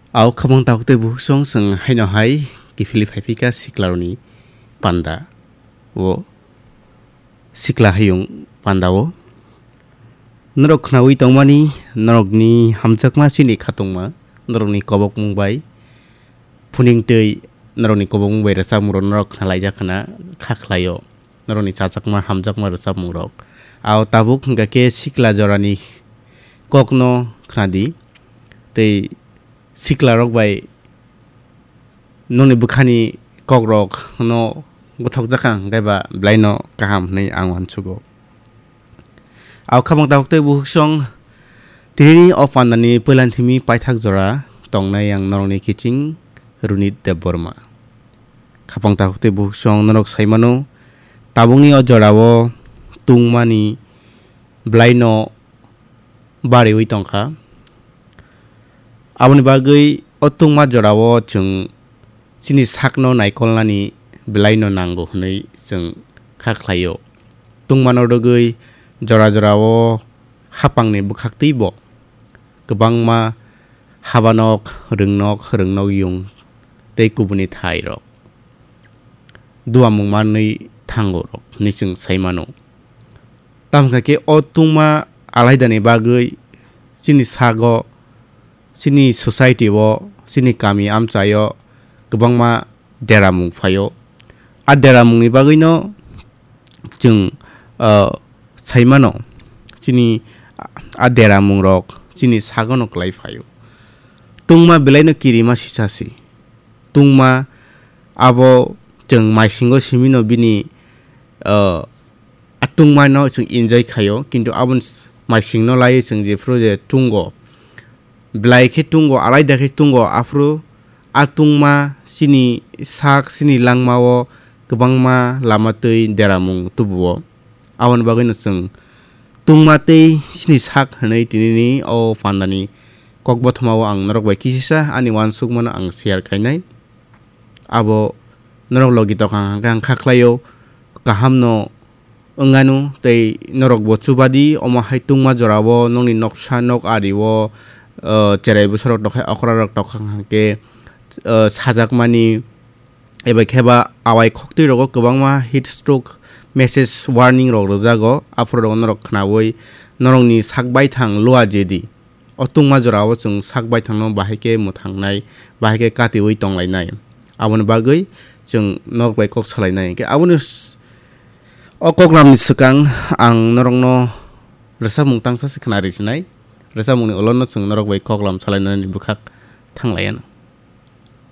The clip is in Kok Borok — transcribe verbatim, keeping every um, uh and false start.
Au khabang tabuk tei bukhuk song chwng haino hai kiphilwi phaiphika siklarokni panda o sikla hayung panda o. Norok khnaui tongmani norokni hamjakma chini khatungma norokni kobokmung bai phuning tei norokni kobokmung bai rwchapmungrok norok khnalaijak khna kha khlaio. Norokni chajakma hamjakma rwchapmungrok. Au tabuk hwnkha khe sikla jorani kokno khnadi tei siklarok bai nokni bwkhani kokrok no gothokjak ang, hwnkhe ba belai no kaham hwnwi ang uansugo. Au khabang tabuk tei bukhuk song tinini o pandani puilan thimi paithak jora tongnai ang norokni kiching Runit Debbarma. Khabang tabuk tei bukhuk song norok sai mano, tabukni o jorao tungmani belai no bariwi tongkha. Aboni bagwi o tungma jorao chwng chini sakno naikolnani belaino nango hwnwi chwng kha khlaio. Tungmano rwgwi jora jorao hapangni bwkhaktwibo kwbangma habanok, rwngnok, rwngnok yung tei kubuni thairok duamung manwi thango rok hwnwi chwng sai mano. Tamo khe o tungma alaidani bagwi chini sago, chini society o, chini kami amchaio kwbangma deramung phaio. A deramungni bagwino chwng, ah, sai mano, chini a deramungrok chini sagono kwlai phaio. Tungma belaino kirima sisasi. Tungma abo chwng maisingo simino bini, ah, a tungmano chwng enjoy khaio, kintu aboni s-, maisingno laiwi chwng jephuru je tungo, belai khe tungo, alaida khe tungo, aphuru a tungma chini sak, chini langmao kwbangma lama twi deramung tubuo. Aboni bagwino chwng tungma tei chini sak hwnwi tinini o pandani kokbothomao ang norok bai kisisa ani uansukmano ang share khainai. Abo norok logi tokha hwnkhe ang kha khlaio, kahamno wnganu tei norokbo chubadi omo hai tungma jorao nokni noksa nok ario, o, cherai bwsarok tokha, okrarok tokha hwnkhe, o, sajakmani eba khe ba awai khoktwi rogo kwbangma heat stroke message warning rok rwjago, aphuru rok norok khnaui norokni sak baithang lua jedi. O tungma jorao chwng sak baithangno bahai khe mwthangnai, bahai khe katiui tonglainai. Aboni bagwi chwng norok bai kok salainai. Hwnkhe aboni s-, o koklamni swkang ang norokno rwchapmung tangsa se khna risinai. Rwchapmungni ulono chwng norok bai koklam salainani bwkhak thanglaianw.